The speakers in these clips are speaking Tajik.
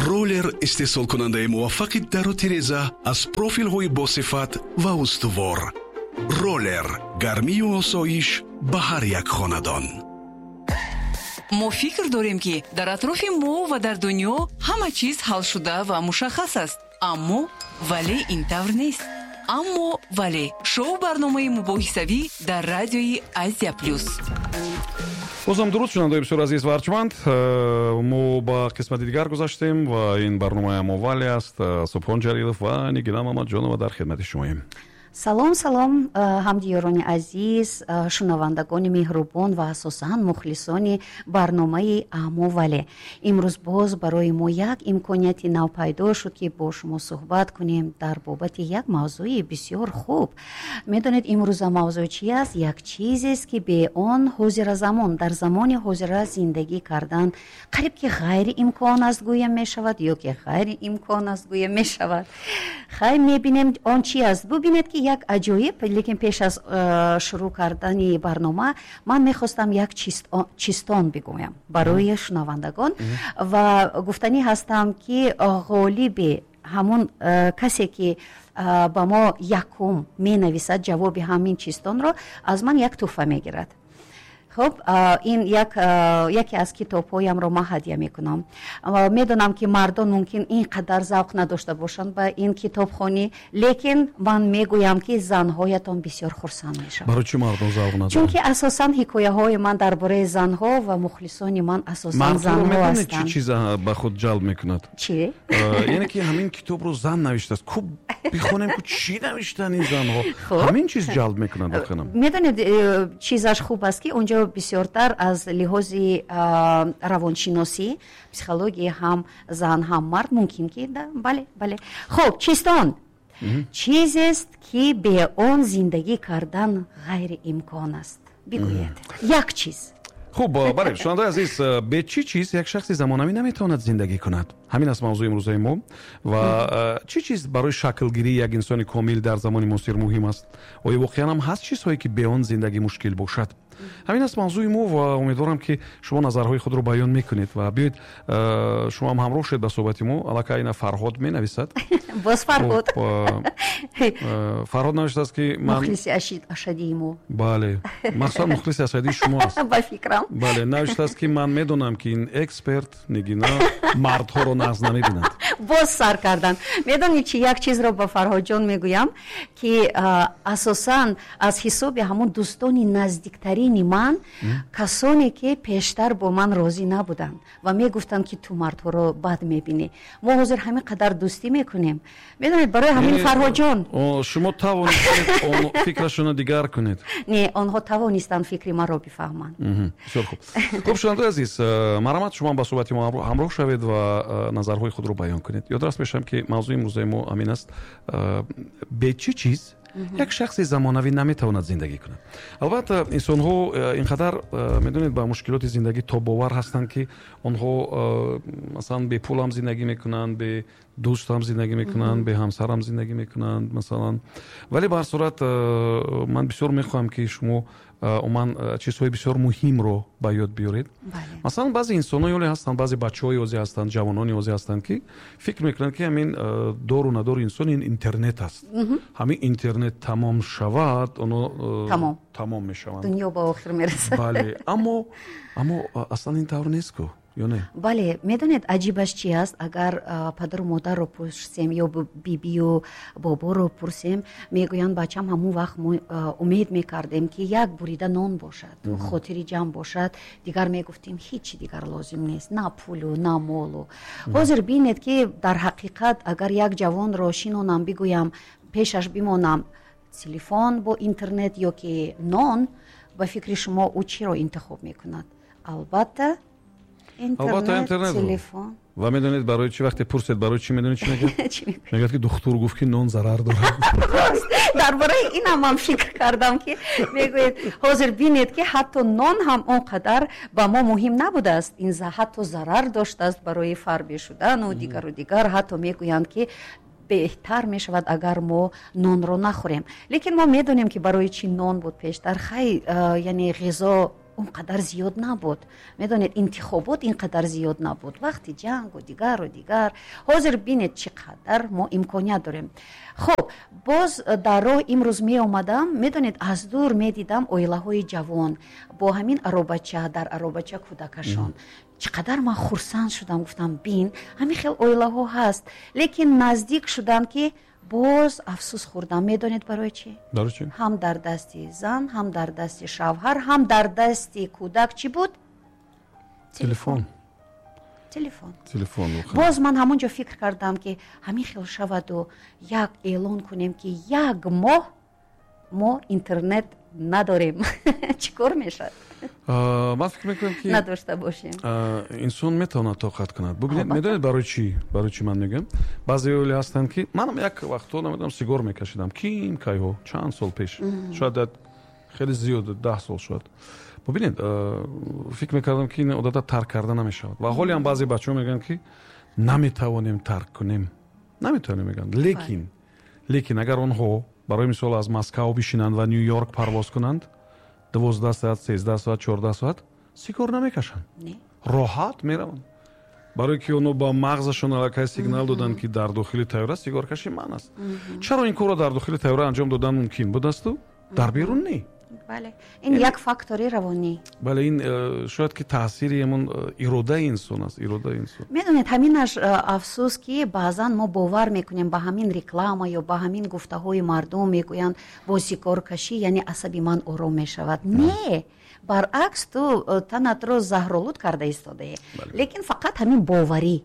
Роллер истеҳсолкунандаи муваффақи дару тиреза аз профилҳои босифат ва устувор. Роллер гармию осоиш ба ҳар як хонадон. Мо фикр дорем, ки дар атрофи мо ва дар дунё ҳама чиз ҳалшуда ва мушаххас аст, аммо вале ин тавр нест. Аммо вале шоу барномаи мубоҳисавӣ дар радиои Азия Плюс. Бозам дуруд, шунавандаои бисёр азиз ва арҷманд. Мо ба қисмати дигар гузаштем ва ин барномаи «Аммо вале» аст. Субҳон Ҷалилов ва Нигина Мамаджонова дар хидмати шумоем. Салом, салом, ҳамдиёрони азиз, шунавандагони меҳрубон ва асосан мухлисони барномаи «Аммо вале». Имрӯз боз барои мо як имконияти нав пайдо шуд, ки бо шумо суҳбат кунем дар бобати як мавзӯи бисёр хуб. Медонед, имрӯза мавзӯъ чи аст? Як чизест, ки бе он ҳозиразамон, дар замони ҳозира зиндагӣ кардан қариб ки ғайриимкон аст, гӯям мешавад, ё ки ғайриимкон аст, гӯям мешавад. Хай, мебинем, он чи аст. Бубинед, ки як аҷоиб. Лекин пеш аз шурӯъ кардани барнома ман мехостам як чистон бигӯям барои шунавандагон ва гуфтанӣ ҳастам, ки ғолиби ҳамун касе, ки ба мо якум менависад ҷавоби ҳамин чистонро, аз ман як тӯҳфа мегирад. Хуб, ин яке аз китобҳоямро ман ҳадя мекунам. Медонам, ки мардон мумкин ин қадар завқ надошта бошанд ба ин китобхонӣ, лекин ман мегӯям, ки занҳоятон бисёр хурсанд мешаванд. Барои чӣ мардон завқ надоранд? Чунки асосан ҳикояҳои ман дар бораи занҳо ва мухлисони ман асосан занҳо ҳастанд. Чӣ ҳастанд. Чиз ба худ ҷалб мекунад? Чӣ? Яъне ки ҳамин китобро зан навиштааст, ку бихонем, ку чӣ навиштан ин занҳо. Ҳамин чиз ҷалб мекунад воқеан. Медонед, чизаш хуб аст, ки онҷо бисёртар аз лиҳози равоншиносӣ, психология, ҳам зан, ҳам мард мумкин ки бале. Хуб, чистон: чизест, ки бе он зиндагӣ кардан ғайриимкон аст. Бигӯед як чиз. Хуб, бале, шунавандаи азиз, бе чӣ чиз як шахси замонавӣ наметавонад зиндагӣ кунад? Ҳамин аст мавзӯи имрӯзаи мо. Ва чӣ чиз барои шаклгирии як инсони комил дар замони муосир муҳим аст? Оё воқеан ҳам ҳаст чизҳое, ки бе он зиндагӣ мушкил бошад? Ҳамин аст мавзӯи мо ва умедворам, ки шумо назарҳои худро баён мекунед. Ва биёед, шумо ҳам ҳамроҳ шуед ба суҳбати мо. Аллакай ина Фарҳод менависад. Боз Фарҳод. Фарҳод навиштааст, ки ман Мухлиси ашадии мо. Бале, махсусан мухлиси ашадии шумо аст. Ба фикрам. Бале, навиштааст, ки ман медонам, ки ин эксперт Нигина мардҳоро нағз намебинад. Боз сар кардан. Медонед чи, як чизро ба Фарҳодҷон мегӯям, ки асосан аз ҳисоби ҳамон дӯстони наздиктарини ман, касоне ки пештар бо ман розӣ набуданд ва мегуфтанд, ки ту мардҳоро бад мебинӣ, мо ҳозир ҳамин қадар дӯстӣ мекунем. Медонед, барои ҳамин, Фарҳодҷон, Шумо тавонистед фикрашонро дигар кунед? Не, онҳо тавонистанд фикри маро бифаҳманд. Бисёр хуб. Хуб, шунавандаи азиз, марҳамат, шумо ба суҳбати мо ҳамроҳ шавед ва назарҳои худро баён кунед. Ёдрас мешавам, ки мавзӯи имрӯзаи мо ҳамин аст: бе чӣ чиз як шахси замонавӣ наметавонад зиндагӣ кунад? Албатта, инсонҳо ин қадар, медонед, ба мушкилоти зиндагӣ тобовар ҳастанд, ки онҳо масалан бепул ҳам зиндагӣ мекунанд, бе дӯст ҳам зиндагӣ мекунанд, бе ҳамсар ҳам зиндагӣ мекунанд масалан. Вале ба ҳар сурат ман бисёр мехоҳам, ки шумо умуман чизҳои бисёр муҳимро ба ёд биёред. Масалан, баъзе инсонҳои оле ҳастанд, баъзе бачаҳои озӣ ҳастанд, ҷавонони озӣ ҳастанд, ки фикр мекунанд, ки ҳамин дору надори инсон ин интернет аст. Ҳамин интернет тамом шавад, оно тамом мешаванд. Дунё ба охир мерасад. Бале, аммо аслан ин тавр нест ку, ё не? Бале, медонед, аҷибаш чи аст? Агар падару модарро пурсем ё бибию боборо пурсем, мегӯянд: «Бачам, ҳамон вақт мо умед мекардем, ки як бурида нон бошад, хотири ҷамъ бошад, дигар мегуфтем, ҳеҷ дигар лозим нест, на пулу на молу». Ҳозир бинед, ки дар ҳақиқат агар як ҷавонро шинонам, бигӯям, пешаш бимонам: телефон бо интернет ё ки нон, ба фикри шумо, ӯ чиро интихоб мекунад? Албатта, интернет, телефон. Ва медонед барои чӣ? Вақте пурсед барои чӣ, медонед чӣ мегӯяд? Мегӯяд, ки духтур гуфт, ки нон зарар дорад. Дар бораи инам ман фикр кардам, ки мегӯед. Ҳозир бинед, ки ҳатто нон ҳам он қадар ба мо муҳим набудааст. Ин ҳатто зарар доштааст барои фарбе шудану дигару дигар. Ҳатто мегӯянд, ки беҳтар мешавад, агар мо нонро нахӯрем. Лекин мо медонем, ки барои чӣ нон буд пештар. Хай, яъне ғизо Он қадар зиёд набуд, медонед, интихобот ин қадар зиёд набуд, вақти ҷангу дигару дигар. Ҳозир бинед, чӣ қадар мо имконият дорем. Хуб, боз дар роҳ имрӯз меомадам, медонед, аз дур медидам оилаҳои ҷавон бо ҳамин аробача, дар аробача кӯдакашон. Чӣ қадар ман хурсанд шудам, гуфтам, бин, ҳамин хел оилаҳо ҳаст. Лекин наздик шудам, ки боз афсӯс хӯрдам. Медонед, барои чӣ? Барои чӣ? Ҳам дар дасти зан, ҳам дар дасти шавҳар, ҳам дар дасти кӯдак чӣ буд? Телефон. Телефон. Телефон. Боз ман ҳамон ҷо фикр кардам, ки ҳамин хел шаваду як эълон кунем, ки як моҳ мо интернет надорем, чӣ кор мешавад? Ман фикр мекунам, ки надошта бошем. Инсон метавонад тоқат кунад. Бубинед, медонед, барои чӣ ман мегӯям? Баъзе оила ҳастанд, ки манам як вақтҳо, намедонам, сигор мекашидам, ким кайҳо, чанд сол пеш, шояд хеле зиёд, 10 сол шояд. Бубинед, фикр мекардам, ки ин одата тарк карда намешавад. Ва ҳоле ҳам баъзе бачаҳо мегӯянд, ки наметавонем тарк кунем, наметавонем, мегӯянд. Лекин агар онҳо, барои мисол, аз Москав бишинанд ва Ню Йорк парвоз кунанд, 12 соат, 13 соат, 14 соат сигор намекашанд, роҳат мераванд, барое ки онҳо ба мағзашон аллакай сигнал доданд, ки дар дохили тайёра сигоркашӣ манъ аст. Чаро ин корро дар дохили тайёра анҷом додан мумкин будасту дар берун не? Бале, ин як фактори равонӣ. Бале, ин шояд ки таъсири ҳамон иродаи инсон аст, иродаи инсон. Медонед, ҳаминаш афсӯс, ки баъзан мо бовар мекунем ба ҳамин реклама ё ба ҳамин гуфтаҳои мардум. Мегӯянд, бо сигоркашӣ, яъне, асаби ман ором мешавад. Не, баръакс, ту танатро заҳролуд карда истодаӣ, лекин фақат ҳамин боварӣ.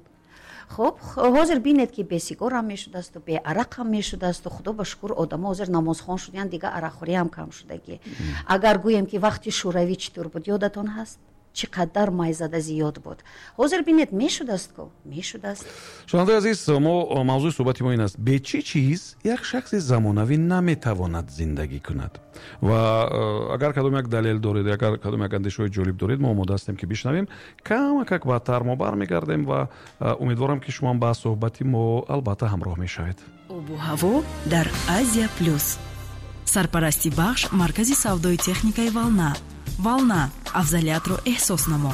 Хуб, ҳозир бинед, ки бе сигорам мешудасту бе арақам мешудасту. Худо ба шукр, одамо ҳозир намозхон шудаянд, дига арақхӯриам кам шудагӣ. Агар гӯем, ки вақти Шӯравӣ чӣ тур буд, ёдатон ҳаст, чӣ қадар майзада зиёд буд. Ҳозир бинед, мешудаст ку, мешудаст. Шунавандаи азиз, мо мавзӯи суҳбати мо ин аст: бе чӣ чиз як шахси замонавӣ наметавонад зиндагӣ кунад? Ва агар кадом як далел доред, агар кадом як андешаҳои ҷолиб доред, мо омода ҳастем, ки бишнавем. Камакак баъдтар мо бармегардем ва умедворам, ки шумоам ба суҳбати мо албатта ҳамроҳ мешавед. Обу ҳаво дар Азия Плюс. Сарпарасти бахш маркази савдои техникаи «Волна». «Волна» — афзалиятро эҳсос намо.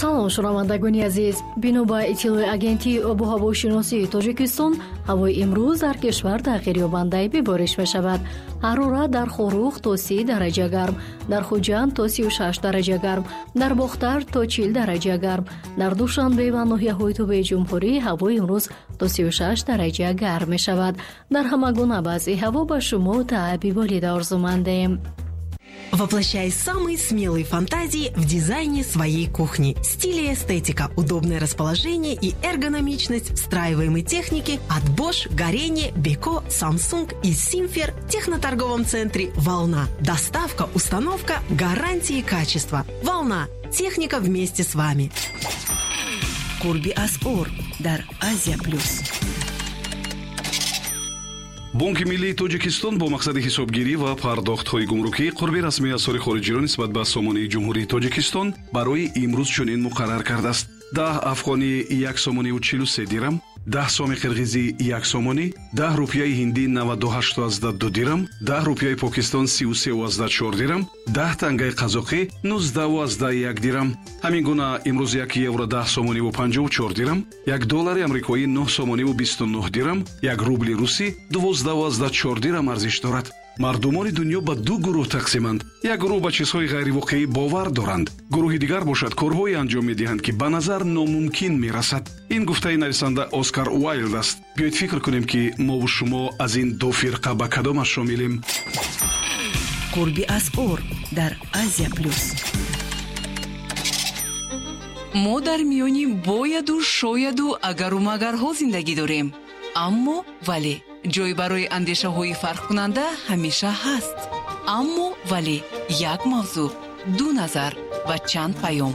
Салом, шунавандагони азиз! Бино ба иттилои Агентии обу ҳавошиносии Тоҷикистон, ҳавои имрӯз дар кишвар тағйирёбандаи бебориш мешавад. Ҳарорат дар Хоруғ то 30 дараҷа гарм, дар Хуҷанд то 36 дараҷа гарм, дар Бохтар то 40 дараҷа гарм, дар Душанбе ва ноҳияҳои тобеи ҷумҳурӣ ҳавои имрӯз то 36 дараҷа гарм мешавад. Дар ҳама гуна вазъи ҳаво ба шумо таъби болида орзумандем. Воплощай самые смелые фантазии в дизайне своей кухни. Стиль и эстетика, удобное расположение и эргономичность встраиваемой техники от Bosch, Gorenje, Beko, Samsung и Simfer в техноторговом центре «Волна». Доставка, установка, гарантии качества. «Волна». Техника вместе с вами. Қурби асъор дар Азия Плюс. Бонки миллии Тоҷикистон бо мақсади ҳисобгирӣ ва пардохтҳои гумрукӣ қурби расмии асъори хориҷиро нисбат ба сомонии Ҷумҳурии Тоҷикистон барои имрӯз чунин муқаррар кардааст: 10 афғонӣ 1 сомониву 43 дирам, 10 соми қирғизӣ 1 сомонӣ, 10 рупияи ҳиндӣ 98,2 дирам, 10 рупияи Покистон 33,4 дирам, 10 тангаи қазоқӣ 19,1 дирам. Ҳамин гуна имрӯз 1 евро 10 сомониву 54 дирам, 1 доллари амрикоӣ 9 сомониву 29 дирам, 1 рубли русӣ 12,4 дирам арзиш дорад. Мардумони дунё ба ду гурӯҳ тақсиманд. Як гурӯҳ ба чизҳои ғайривоқеӣ бовар доранд, гурӯҳи дигар бошад, корҳое анҷом медиҳанд, ки ба назар номумкин мерасад. Ин гуфтаи нависанда Оскар Уайлд аст. Биёед фикр кунем, ки мову шумо аз ин ду фирқа ба кадомаш шомилем. Қурби асъор дар Азия Плюс. Мо дар миёни бояду шояду агару магарҳо зиндагӣ дорем, аммо вале ҷой барои андешаҳои фарқкунанда ҳамеша ҳаст. Аммо вале як мавзӯъ, ду назар ва чанд паём.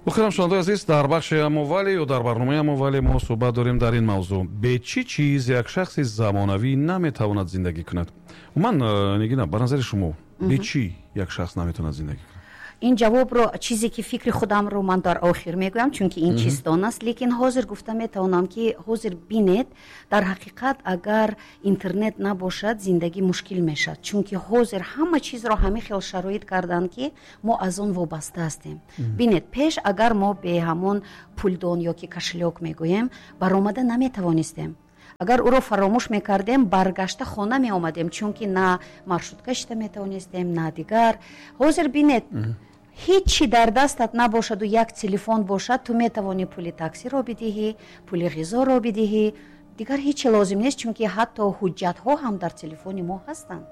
Охирам, шунавандаи азиз, дар бахши «Аммо вале» ё дар барномаи «Аммо вале» мо суҳбат дорем дар ин мавзӯъ: бе чӣ чиз як шахси замонавӣ наметавонад зиндагӣ кунад? Умуман, Нигина, ба назари шумо, бе чӣ як шахс наметавонад зиндагӣ кунад? Ин ҷавобро, чизе ки фикри худамро ман дар охир мегӯям, чунки ин чиздон аст, лекин ҳозир гуфта метавонам, ки ҳозир бинед, дар ҳақиқат агар интернет набошад, зиндагӣ мушкил мешавад, чунки ҳозир ҳама чизро ҳамин хел шароит карданд, ки мо аз он вобаста ҳастем. Бинед, пеш агар мо бе ҳамон пулдон ё ки кошелёк мегӯем баромада наметавонистем, агар ӯро фаромӯш мекардем, баргашта хона меомадем, чунки на маршрутка шита метавонистем, на дигар. Ҳозир бинед, ҳеҷ чӣ дар дастат набошаду як телефон бошад, ту метавонӣ пули таксиро бидиҳӣ, пули ғизоро бидиҳӣ, дигар ҳеҷ чи лозим нест, чунки ҳатто ҳуҷҷатҳо ҳам дар телефони мо ҳастанд.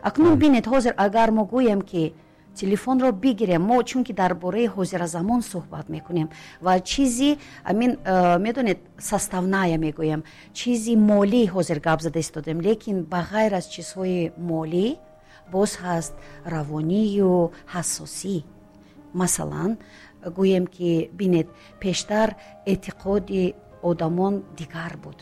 Акнун бинед, ҳозир агар мо гӯем, ки телефонро бигирем, мо чунки дар бораи ҳозиразамон суҳбат мекунем ва чизи амин, медонед, составная мегӯем, чизи молӣ ҳозир гап зада истодем, лекин ба ғайр аз чизҳои молӣ боз ҳаст равонию ҳассосӣ. Масалан, гӯем ки бинед, пештар эътиқоди одамон дигар буд,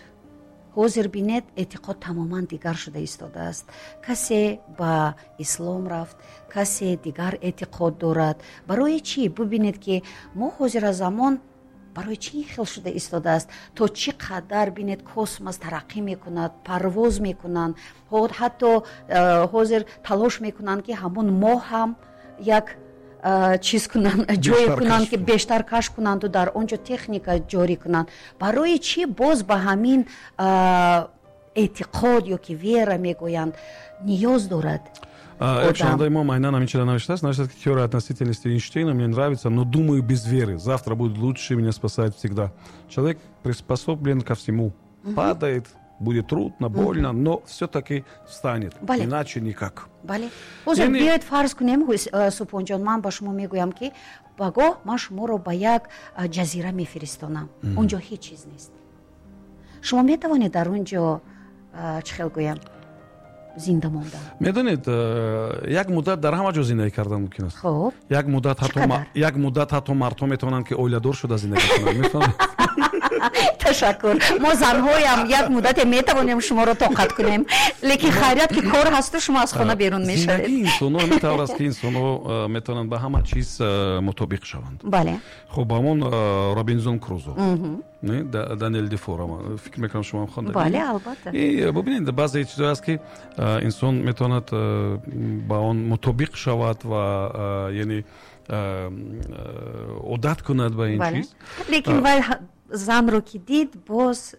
ҳозир бинед, эътиқод тамоман дигар шуда истодааст. Касе ба ислом рафт, касе дигар эътиқод дорад. Барои чӣ? Бубинед, ки мо ҳозиразамон барои чӣ ин хел шуда истодааст? То чӣ қадар, бинед, космос тараққӣ мекунад, парвоз мекунанд, ҳатто ҳозир талош мекунанд, ки ҳамон моҳ ҳам як чиз кунанд, ҷое кунанд, ки бештар кашф кунанду дар он ҷо техника ҷорӣ кунанд. Барои чӣ боз ба ҳамин эътиқод ё ки вера мегӯянд ниёз дорад? Як шунавандаи мо айнан ҳамин чиза навиштааст. Навиштааст, ки теория относительности Эйнштейна мне нравится, но думаю, без веры завтра будет лучше, меня спасает всегда. Человек приспособлен ко всему, падает, будет трудно, больно, но все-таки встанет. Иначе никак. Бале, ҳозир биёед фарз кунем, Субҳонҷон, ман ба шумо мегӯям, ки пагоҳ ман шуморо ба як ҷазира мефиристонам, он ҷо ҳеҷ чиз нест. Шумо метавонед дар он ҷо, чӣ хел гӯям, зинда мондан? Медонед, як муддат дар ҳама ҷо зиндагӣ кардан мумкин аст. Хуб. Як муддат ҳатто мардҳо метавонанд, ки оиладор шуда зиндагӣ кунанд, мефаҳмед? Ташаккур. Мо занҳоям як муддате метавонем шуморо тоқат кунем, лекин хайрият, ки кор ҳасту шумо аз хона берун мешавед. Зиндагии инсонҳо ҳамин тавр аст, ки инсонҳо метавонанд ба ҳама чиз мутобиқ шаванд. Хуб, ҳамон Робинзон Крузо, Даниэл Дефо, фикр мекунам, шумо ҳам хонда. Бале, албатта. Бубинед, баъзе чизҳое аст, ки инсон метавонад ба он мутобиқ шавад ва яъне одат кунад ба ин чиз. Лекин вай занро ки дид, боз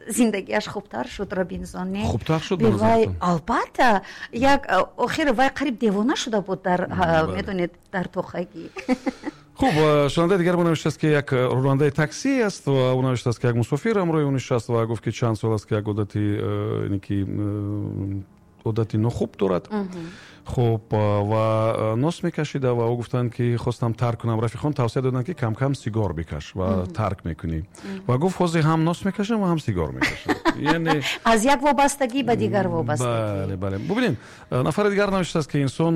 зиндагиаш хубтар шуд, Робинзон, не? Хубтар шуд. Вай, албатта, як охир вай қариб девона шуда буд дар, медонед, дар тохагӣ. Хуб, шунавандаи дигар мо навиштааст, ки як ронандаи таксӣ аст ва ӯ навиштааст, ки як мусофир ҳамроҳи ӯ нишаст ва гуфт, ки чанд сол аст, ки як одати, ки одати нохуб дорад. Хуб, ва нос мекашида ва ӯ гуфтанд, ки хостам тарк кунам, рафиқон тавсия доданд, ки камкам сигор бикаш ва тарк мекунӣ. Ва гуфт: ҳозир ҳам нос мекашам ва ҳам сигор мекашам. Яъне аз як вобастагӣ ба дигар вобастагӣ. Бале, бубинед, нафари дигар навиштааст, ки инсон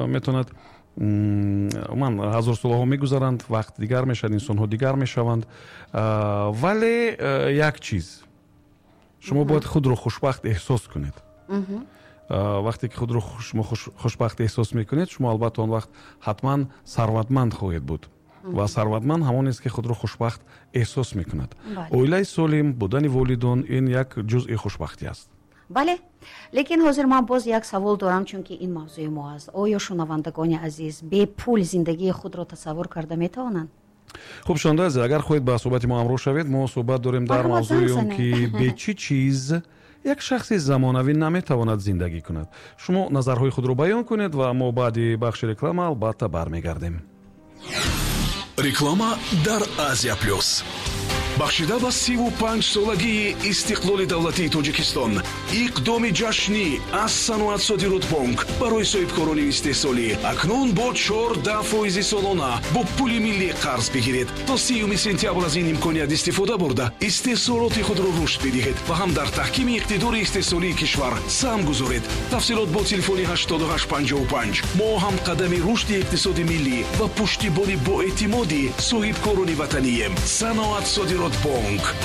метавонад, умуман ҳазорсолаҳо мегузаранд, вақт дигар мешавад, инсонҳо дигар мешаванд, вале як чиз: шумо бояд худро хушбахт эҳсос кунед. Вақте ки худро шумо хушбахт эҳсос мекунед, шумо албатта он вақт ҳатман сарватманд хоҳед буд ва сарватманд ҳамон ест, ки худро хушбахт эҳсос мекунад. Оилаи солим, будани волидон — ин як ҷузъи хушбахтӣ аст. Бале, лекин ҳозир ман боз як савол дорам, чунки ин мавзӯи мо аст. Оё шунавандагони азиз бепул зиндагии худро тасаввур карда метавонанд? Хуб, шунавандаи азиз, агар хоҳед ба суҳбати мо ҳамроҳ шавед, мо суҳбат дорем дар мавзӯи он, ки бе чӣ чиз як шахси замонавӣ наметавонад зиндагӣ кунад. Шумо назарҳои худро баён кунед ва мо баъди бахши реклама албатта бармегардем. Реклама дар Азия Плюс. Бахшида ба 35-солагии истиқлоли давлатии Тоҷикистон иқдоми ҷашнӣ аз Саноат Содиротбонк барои соҳибкорони истеҳсолӣ: акнун бо 14 фоизи солона бо пули миллӣ қарз бигиред. То 30 сентябр аз ин имконият истифода бурда, истеҳсолоти худро рушд бидиҳед ва ҳам дар таҳкими иқтидори истеҳсолии кишвар саҳм гузоред. Тафсилот бо телефони 8855. Мо ҳамқадами рушди иқтисоди миллӣ ва пуштибони боэътимоди соҳибкорони ватанием. Саноат Содиротбонк: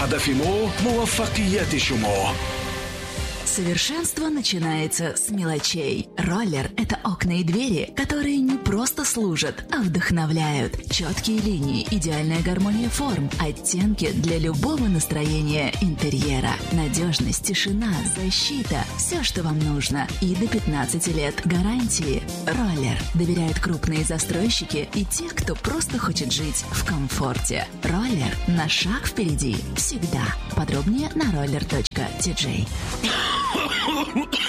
ҳадафи мо муваффақияти шумо. Совершенство начинается с мелочей. Роллер – это окна и двери, которые не просто служат, а вдохновляют. Четкие линии, идеальная гармония форм, оттенки для любого настроения интерьера. Надежность, тишина, защита – все, что вам нужно. И до 15 лет гарантии. Роллер. Доверяют крупные застройщики и те, кто просто хочет жить в комфорте. Роллер на шаг впереди всегда. Подробнее на roller.tj.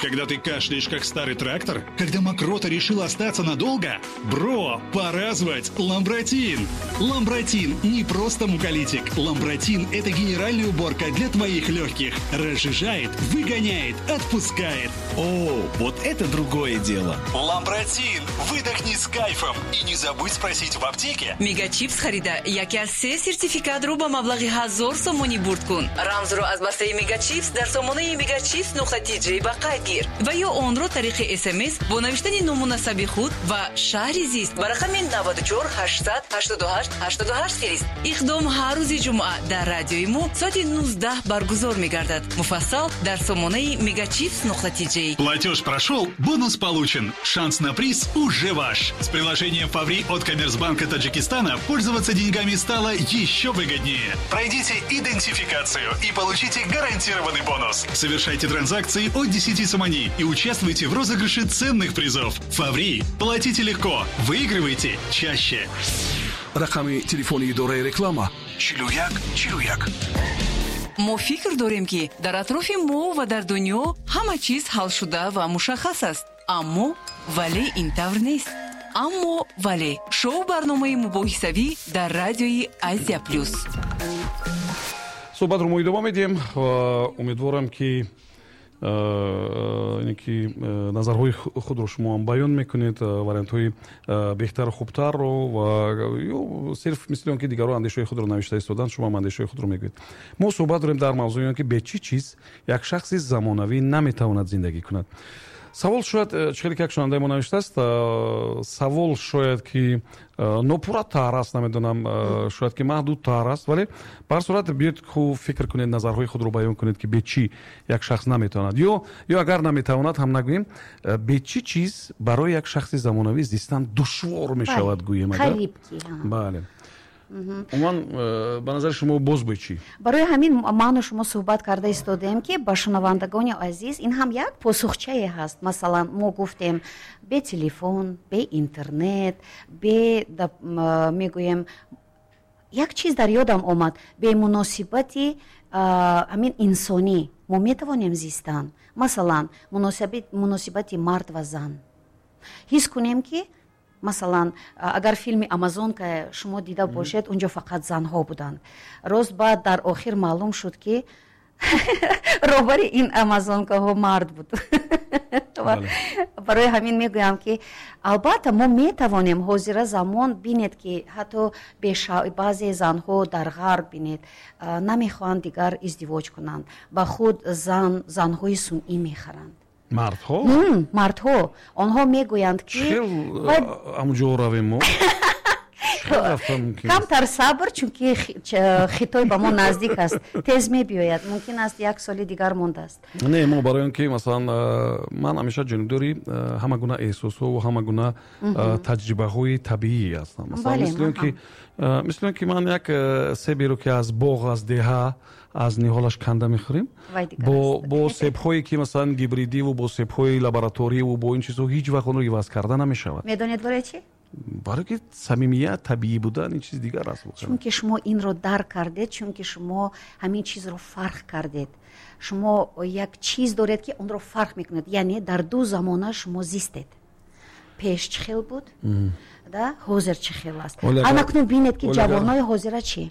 Когда ты кашляешь, как старый трактор? Когда мокрота решила остаться надолго? Бро, пора звать Ламбратин! Ламбратин не просто муколитик. Ламбратин – это генеральная уборка для твоих легких. Разжижает, выгоняет, отпускает. О, вот это другое дело. Ламбратин! Выдохни с кайфом. И не забудь спросить в аптеке. Мегачипс харида яке аз се сертификат ро ба маблағи 1000 сомонӣ бурд кун. Рамзро аз бастаи Мегачипс дар сомонаи megachipс.tj ба қайд гир ва ё онро тариқи СМС бо навиштани ному насаби худ ва шаҳри зист ба рақами 94 888 88 фирист. Иқдом ҳар рӯзи ҷумъа дар радиои мо соати 19 баргузор мегардад. Муфассал дар сомонаи megachipс.tj. Платеж прошел, бонус получен. Шанс на приз уже ваш. С приложением «Фаври» от Коммерцбанка Таджикистана пользоваться деньгами стало еще выгоднее. Пройдите идентификацию и получите гарантированный бонус. Совершайте транзакции от 10 сомони и участвуйте в розыгрыше ценных призов. «Фаври». Платите легко. Выигрывайте чаще. Рақами телефони идораи реклама 41 41. Мо фикр дорем, ки дар атрофи мо ва дар дунё ҳама чиз ҳалшуда ва мушаххас аст, аммо вале ин тавр нест. Аммо вале шоу барномаи мубоҳисавӣ дар радиои Азия Плюс. Суҳбатро мо идома медиҳем ва умедворам, ки ине ки назарҳои худро шумо ҳам баён мекунед, вариантҳои беҳтару хубтарро ва ё сирф мисли он ки дигарон андешаҳои худро навишта истоданд, шумо ҳам андешаҳои худро мегӯед. Мо суҳбат дорем дар мавзӯи он, ки бе чӣ чиз як шахси замонавӣ наметавонад зиндагӣ кунад. Савол шояд, чӣ хеле ки як шунавандаи мо навиштааст, савол шояд ки нопурратар аст, намедонам, шояд ки маҳдудтар аст, вале ба ҳар сурат биёед хуб фикр кунед, назарҳои худро баён кунед, ки бе чӣ як шахс наметавонад ё агар наметавонад ҳам нагӯем, бе чӣ чиз барои як шахси замонавӣ зистан душвор мешавад, гӯем агар. Қариб ки. Бале, умуман, ба назари шумо боз бо чӣ? Барои ҳамин ману шумо суҳбат карда истодаем, ки ба шунавандагони азиз ин ҳам як посухчае ҳаст. Масалан, мо гуфтем, бе телефон, бе интернет, бе мегӯем, як чиз дар ёдам омад: бе муносибати ҳамин инсонӣ мо метавонем зистан. Масалан, муносибати мард ва зан. Ҳис кунем, ки масалан, агар филми «Амазонка» шумо дида бошед, унҷо фақат занҳо буданд. Рост, баъд дар охир маълум шуд, ки роҳбари ин амазонкаҳо мард буд. Барои ҳамин мегӯям, ки албатта мо метавонем. Ҳозира замон бинед, ки ҳатто баъзе занҳо дар ғарб, бинед, намехоҳанд дигар издивоҷ кунанд, ба худ занҳои сунъӣ мехаранд. Мардҳо? Мардҳо. Онҳо мегӯянд, ки Хел ҳамуҷо равем мо? Камтар сабр, чунки Хитой ба мо наздик аст, тез мебиёяд, мумкин аст як соли дигар мондааст. Не, мо барои он ки масалан ман ҳамеша ҷонибдори ҳама гуна эҳсосҳо ва ҳама гуна таҷрибаҳои табиӣ ҳастам. Масалан, мисли он ки ман як себеро, ки аз боғ, аз деҳа, аз ниҳолаш канда мехӯрем, бо себҳое ки масалан гибридиву бо себҳои лабораторияву бо ин чизҳо ҳеҷ вақт онро иваз карда намешавад. Медонед барои чӣ? Барои ки самимият, табиӣ будан ин чиз дигар аст. Чунки шумо инро дарк кардед, чунки шумо ҳамин чизро фарқ кардед. Шумо як чиз доред, ки онро фарқ мекунед, яъне дар ду замона шумо зистед: пеш чӣ хел буд да, ҳозир чӣ хел аст. Анакнун бинед, ки ҷавонои ҳозира чӣ,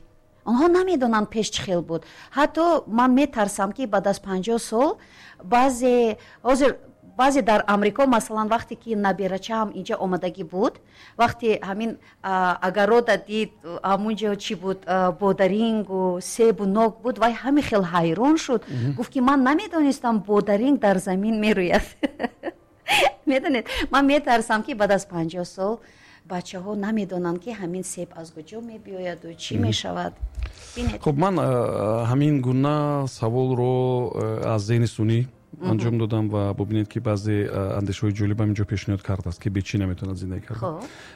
онҳо намедонанд пеш чӣ хел буд. Ҳатто ман метарсам, ки баъд аз 50 сол баъзе ҳозир, баъзе дар Амрико, масалан, вақте ки наберачаам инҷа омадагӣ буд, вақте ҳамин огорода дид, ҳамунҷо чӣ буд, бодарингу себу нок буд, вай ҳами хел ҳайрон шуд, гуфт, ки ман намедонистам, бодаринг дар замин мерӯяд. Медонед, ман метарсам, ки баъд аз 50 сол бачаҳо намедонанд, ки ҳамин себ аз куҷо мебиёяду чӣ мешавад. Хуб, ман ҳамин гуна саволро аз зеҳни сунъӣ Анҷом додам ва бубинед, ки баъзе андешаҳои ҷолибам инҷо пешниҳод кардааст, ки бе чӣ наметавонад зиндагӣ кард.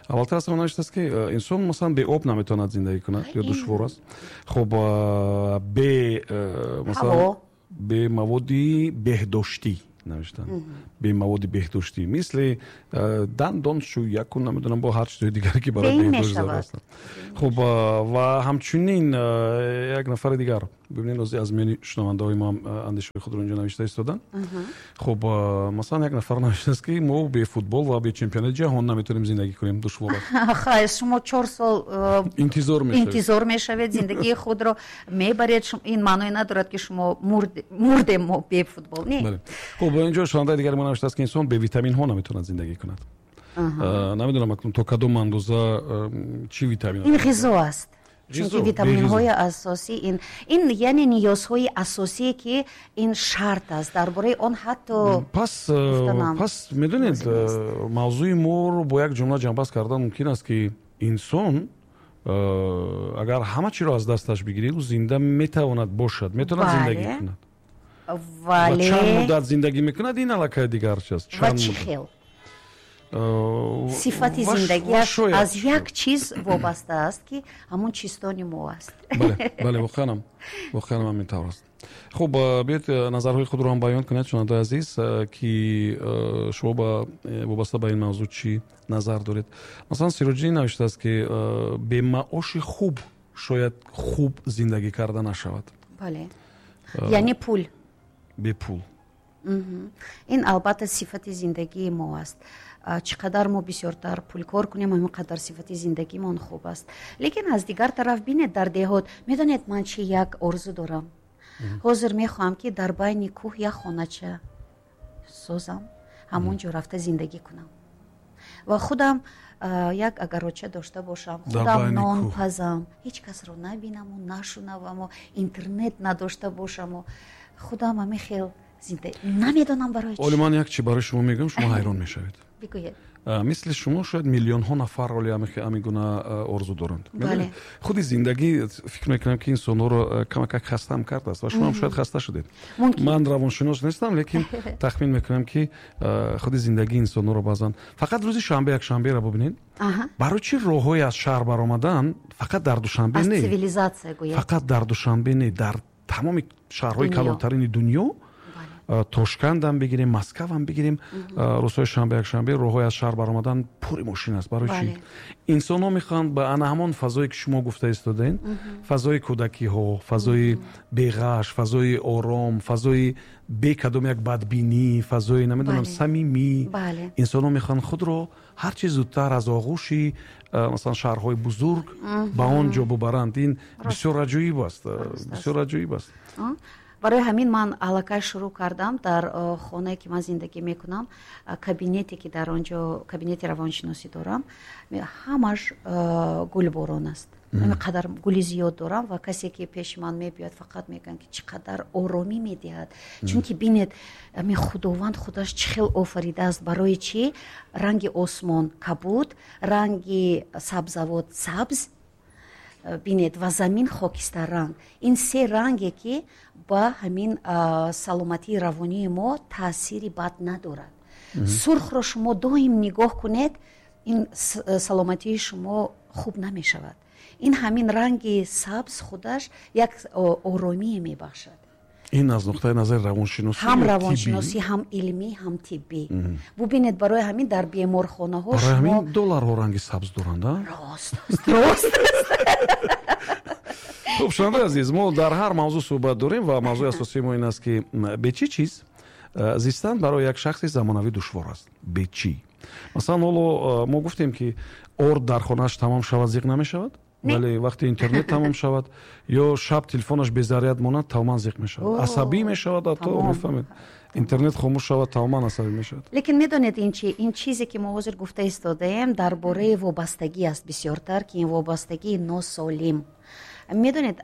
Аввалтар аз ҳама навиштааст, ки инсон, масалан, бе об наметавонад зиндагӣ кунад ё душвор аст. Хуб, бе, масалан, бе маводи беҳдоштӣ навиштанд, бе маводи беҳдоштӣ, мисли дандоншӯяку, намедонам, бо ҳар чизҳои дигаре, ки барои беҳдошт зарур ҳастанд. Хуб, ва ҳамчунин як нафари дигар, бибинед, аз миёни шунавандаҳои мо андешаҳои худро инҷо навишта истоданд. Хуб, масалан, як нафар навиштааст, ки мо бе футбол ва бе чемпионати ҷаҳон наметавонем зиндагӣ кунем, душвор аст. Хай, шумо 4 сол интизор мешавед. Интизор мешавед, зиндагии худро мебаред. Ин маъное надорад, ки шумо мурдем мо бе футбол, не. Хуб, инҷо шунавандаи дигари мо навиштааст, ки инсон бе витаминҳо наметавонад зиндагӣ кунад. Намедонам, акнун то кадом андоза, чӣ витамин. Ин ғизо аст, чунки витаминҳои асосӣ ин яъне ниёзҳои асосие, ки ин шарт аст, дар бораи он ҳатто Пас медонед, мавзӯи моро бо як ҷумла ҷамъбаст кардан мумкин аст, ки инсон агар ҳама чиро аз дасташ бигирӣ, ӯ зинда метавонад бошад, метавонад зиндагӣ кунад. Вале чанд муддат зиндагӣ мекунад, ин аллакай дигар чиз. Ва чӣ хел сифати зиндагиаш аз як чиз вобаста аст, ки ҳамон чистони мо аст. Бале, воқеанам ҳамин тавр аст. Хуб, биёед, назарҳои худро ҳам баён кунед, шунавандаи азиз, ки шумо вобаста ба ин мавзӯъ чӣ назар доред. Масалан, Сироҷиддин навиштааст, ки бемаоши хуб шояд хуб зиндагӣ карда нашавад. Бале, яъне пул. Бепул. Ин албатта сифати зиндагии мо аст. Чӣ қадар мо бисёртар пул кор кунем, ҳамин қадар сифати зиндагимон хуб аст. Лекин аз дигар тараф, бинед, дар деҳот, медонед, ман чи як орзу дорам? Ҳозир мехоҳам, ки дар байни кӯҳ як хонача созам, ҳамон ҷо рафта зиндагӣ кунам ва худам як огородча дошта бошам, худам нон пазам, ҳеҷ касро набинаму нашунаваму интернет надошта бошаму худам ҳамин хел намедонам барои чӣ. Оли ман як чи барои шумо мегӯям, шумо ҳайрон мешавед. Бигӯед. Мисли шумо шояд миллионҳо нафар оли ҳамин гуна орзу доранд. Худи зиндагӣ, фикр мекунам, ки инсонҳоро камакак хастаам кардааст ва шумоам шояд хаста шудед. Ман равоншинос нестам, лекин тахмин мекунам, ки худи зиндагӣ инсонҳоро баъзан, фақат рӯзи шанбе, якшанберо бубинед, барои чӣ роҳҳои аз шаҳр баромадан фақат дар Душанбе не, фақат дар Душанбе не, дар тамоми шаҳрҳои калонтарини дунё, Тошкандам бигирем, Москвам бигирем, рӯзҳои шанбе, якшанбе роҳҳои аз шаҳр баромадан пури мошин аст. Барои чӣ? Инсонҳо мехоҳанд ба ана ҳамон фазое, ки шумо гуфта истодаен, фазои кӯдакиҳо, фазои беғаш, фазои ором, фазои бе кадом як бадбинӣ, фазои, намедонам, самимӣ. Инсонҳо мехоҳанд худро ҳарчи зудтар аз оғӯши, масалан, шаҳрҳои бузург ба он ҷо бубаранд. Ин бисёр аҷоиб аст, бисёр аҷоиб аст. Барои ҳамин ман аллакай шурӯъ кардам дар хонае, ки ман зиндагӣ мекунам, кабинете, ки дар он ҷо кабинети равоншиносӣ дорам, ҳамаш гулборон аст. Қадар гули зиёд дорам ва касе, ки пеши ман мебиёяд, фақат мегӯянд, ки чӣ қадар оромӣ медиҳад. Чунки бинед, худованд худаш чӣ хел офаридааст. Барои чӣ ранги осмон кабуд, ранги сабзавот сабз, бинед, ва замин хокистарранг? Ин се ранге, ки ба ҳамин саломатии равонии мо таъсири бад надорад. Сурхро шумо доим нигоҳ кунед, ин саломатии шумо хуб намешавад. Ин ҳамин ранги сабз худаш як оромие мебахшад. Ин аз нуқтаи назари равоншиносӣ? Ҳам равоншиносӣ, ҳам илмӣ, ҳам тиббӣ. Бубинед, барои ҳамин дар беморхонаҳо Барои ҳамин долларҳо ранги сабз доранд. Рост аст, рост аст. Хуб, шунавандаи азиз, мо дар ҳар мавзӯъ суҳбат дорем ва мавзӯи асосии мо ин аст, ки бе чӣ чиз зистан барои як шахси замонавӣ душвор аст. Бе чӣ? Масалан, ҳоло мо гуфтем, ки орд дар хонааш тамом шавад, зиқ намешавад, вале вақте интернет тамом шавад ё шаб телефонаш безаряд монад, тамоман зиқ мешавад, асабӣ мешавад. Ҳатто, мефаҳмед, интернет хомӯш шавад, тамоман асабӣ мешавад. Лекин медонед, ин чи, ин чизе, ки мо ҳозир гуфта истодаем, дар бораи вобастагӣ аст бисёртар, ки ин вобастагии носолим. Медонед,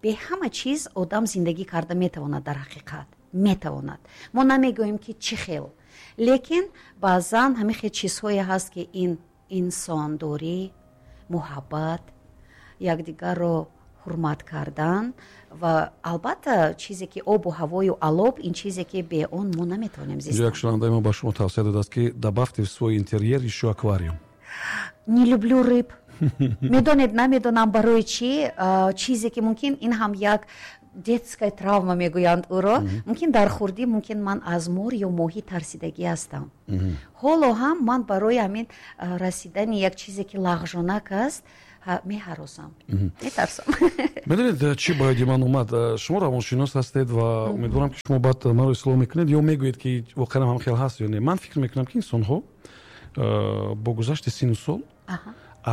бе ҳама чиз одам зиндагӣ карда метавонад, дар ҳақиқат метавонад. Мо намегӯем, ки чӣ хел, лекин баъзан ҳамин хел чизҳое ҳаст, ки ин инсондорӣ, муҳаббат, якдигарро Ҳурмат кардан ва албатта чизе ки обу ҳавою алоб, ин чизе ки бе он мо наметавонем зистан. Як шунавандаи мо ба шумо тавсия додааст, ки добавьте в свой интерьер ещё аквариум. Не люблю рыб. Медонед, намедонам барои чӣ, чизе ки мумкин ин ҳам як детская травма мегӯянд ӯро, мумкин дар хурдӣ, мумкин ман аз мор ё моҳӣ тарсидагӣ ҳастам. Ҳоло ҳам ман барои ҳамин расидани як чизе ки лағжонак аст, меҳаросам, метарсам. Медонед, чӣ ба ёди ман омад? Шумо равоншинос ҳастед ва умедворам, ки шумо баъд маро ислоҳ мекунед ё мегӯед, ки воқеан ҳам хел ҳаст ё не. Ман фикр мекунам, ки инсонҳо бо гузашти сину сол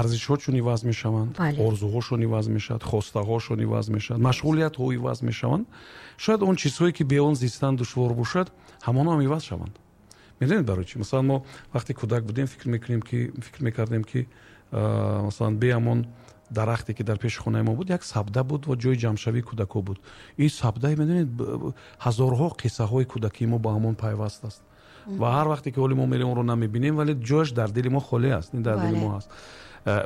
арзишҳошон иваз мешаванд, орзуҳошон иваз мешавад, хостаҳошон иваз мешавад, машғулиятҳо иваз мешаванд. Шояд он чизҳое ки бе он зистан душвор бошад, ҳамонҳо ҳам иваз шаванд. Медонед барои чӣ? Масалан, мо вақте кӯдак будем, фикр мекардем, ки масалан, бе ҳамон дарахте ки дар пеши хонаи мо буд, як сабда буд ва ҷои ҷамъшавии кӯдакҳо буд. Ин сабдаи, медонед, ҳазорҳо қиссаҳои кӯдакии мо ба ҳамон пайваст аст ва ҳар вақте ки ҳоли мо мерем, онро намебинем, вале ҷояш дар дили мо холӣ аст, ин дар дили мо ҳаст.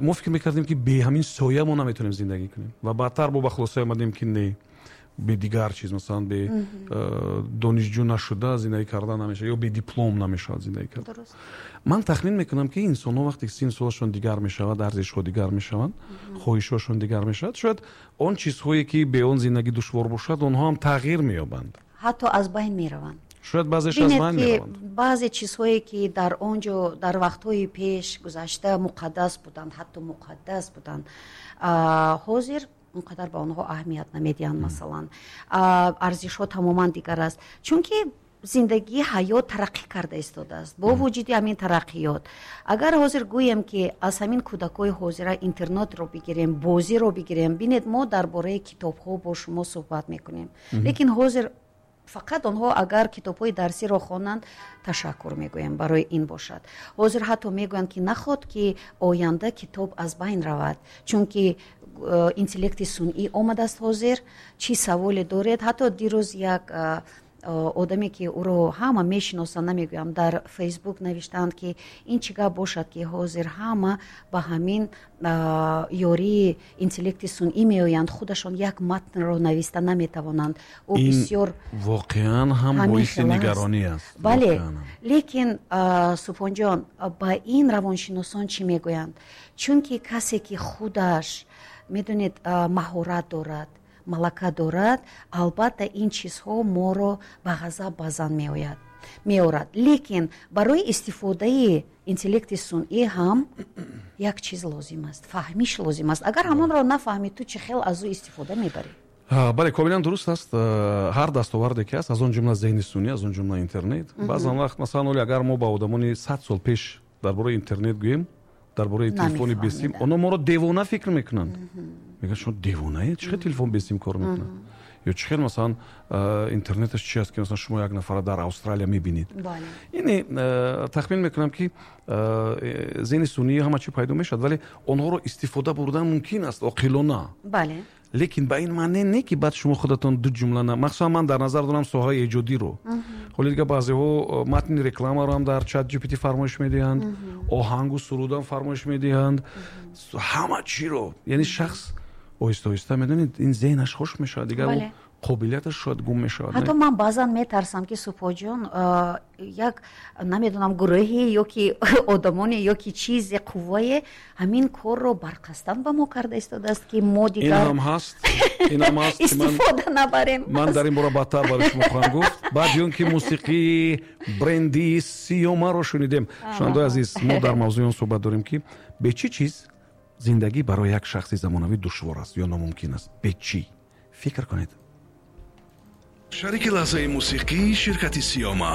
Мо фикр мекардем, ки бе ҳамин соя мо наметавонем зиндагӣ кунем ва баъдтар бо ба хулосае омадем, ки не, бе дигар чиз, масалан, бе донишҷӯ нашуда зиндагӣ кардан намешавад ё бе диплом намешавад зиндагӣ кард. Ман тахмин мекунам, ки инсонҳо вақте ки сину солашон дигар мешавад, арзишҳо дигар мешаванд, хоҳишҳошон дигар мешавад, шояд он чизҳое ки бе он зиндагӣ душвор бошад, онҳо ҳам тағйир меёбанд. Ҳатто аз байн мераванд. Шояд баъзеш аз байн мераванд. Баъзе чизҳое ки дар он ҷо дар вақтҳои пеш гузашта муқаддас буданд, ҳатто муқаддас буданд, ҳозир он қадар ба онҳо аҳамият намедиҳанд. Масалан, арзишҳо тамоман дигар аст, чунки зиндагӣ, ҳаёт тараққӣ карда истодааст. Бо вуҷуди ҳамин тараққиёт, агар ҳозир гӯем, ки аз ҳамин кӯдакҳои ҳозира интернетро бигирем, бозиро бигирем, бинед, мо дар бораи китобҳо бо шумо суҳбат мекунем, лекин ҳозир фақат онҳо агар китобҳои дарсиро хонанд, ташаккур мегӯем барои ин бошад. Ҳозир ҳатто мегӯянд, ки наход ки оянда китоб аз байн равад, чунки интеллекти сунъӣ омадааст. Ҳозир чӣ саволе доред, ҳатто дирӯз як одаме ки ӯро ҳама мешиносанд, намегӯям, дар Фейсбук навиштаанд, ки ин чӣ гап бошад, ки ҳозир ҳама ба ҳамин ёрии интеллекти сунъӣ меоянд, худашон як матнро нависта наметавонанд. Ӯ бисёр воқеан ҳам боиси нигаронӣ аст. Бале, лекин, Субҳонҷон, ба ин равоншиносон чӣ мегӯянд? Чунки касе ки худаш, медонед, маҳорат дорад, малака дорад, албатта ин чизҳо моро ба ғазаб баъзан меояд, меорад. Лекин барои истифодаи интеллекти сунъӣ ҳам як чиз лозим аст, фаҳмиш лозим аст. Агар ҳамонро нафаҳмӣ, ту чӣ хел аз ӯ истифода мебарӣ? Бале, комилан дуруст аст. Ҳар дастоварде ки ҳаст, аз он ҷумла зеҳни сунъӣ, аз он ҷумла интернет, баъзан вақт, масалан, оли агар мо ба одамони 100 сол пеш дар бораи интернет гӯем, дар бораи телефони бесим, онҳо моро девона фикр мекунанд. Мегӯянд, шумо девонаед, чӣ хел телефон бесим кор мекунад, ё чӣ хел, масалан, интернеташ чи аст, ки масалан шумо як нафара дар Австралия мебинед. Ине тахмин мекунам, ки зеҳни сунъӣ ҳама чӣ пайдо мешавад, вале онҳоро истифода бурдан мумкин аст оқилона. Лекин ба ин маъне не, ки баъд шумо худатон ду ҷумла, махсусан ман дар назар дорам соҳаи эҷодиро. Ҳоли дига баъзеҳо матни рекламаро ҳам дар Чат GPT фармоиш медиҳанд, оҳангу сурудам фармоиш медиҳанд, ҳама чиро. Яъне шахс оҳиста оҳиста, медонед, ин зеҳнаш хушк мешавад, дигар қобилияташ шояд гум мешавад. Ҳатто ман баъзан метарсам, ки, Супоҷон, як, намедонам, гурӯҳе ё ки одамоне ё ки чизе, қуввае ҳамин корро барқастан ба мо карда истодааст, ки мо дигар Инам ҳаст, инам ҳаст. истифода набарем. Ман дар ин бора баъдтар барои шумо хоҳам гуфт, баъди он ки мусиқии бренди Сиёмаро шунидем. Шунавандаои азиз, мо дар мавзӯи он суҳбат дорем, ки бе чӣ чиз зиндагӣ барои як шахси замонавӣ душвор аст ё номумкин аст. Бе чӣ? Фикр кунед. Шарики лаҳзаи мусиқӣ ширкати Сиёма.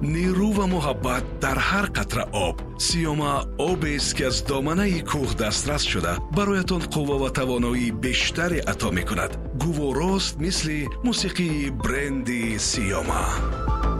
Нерӯ ва муҳаббат дар ҳар қатра об. Сиёма обест, ки аз доманаи кӯҳ дастрас шуда, бароятон қувва ва тавоноии бештаре ато мекунад. Гуворост, мисли мусиқии бренди Сиёма.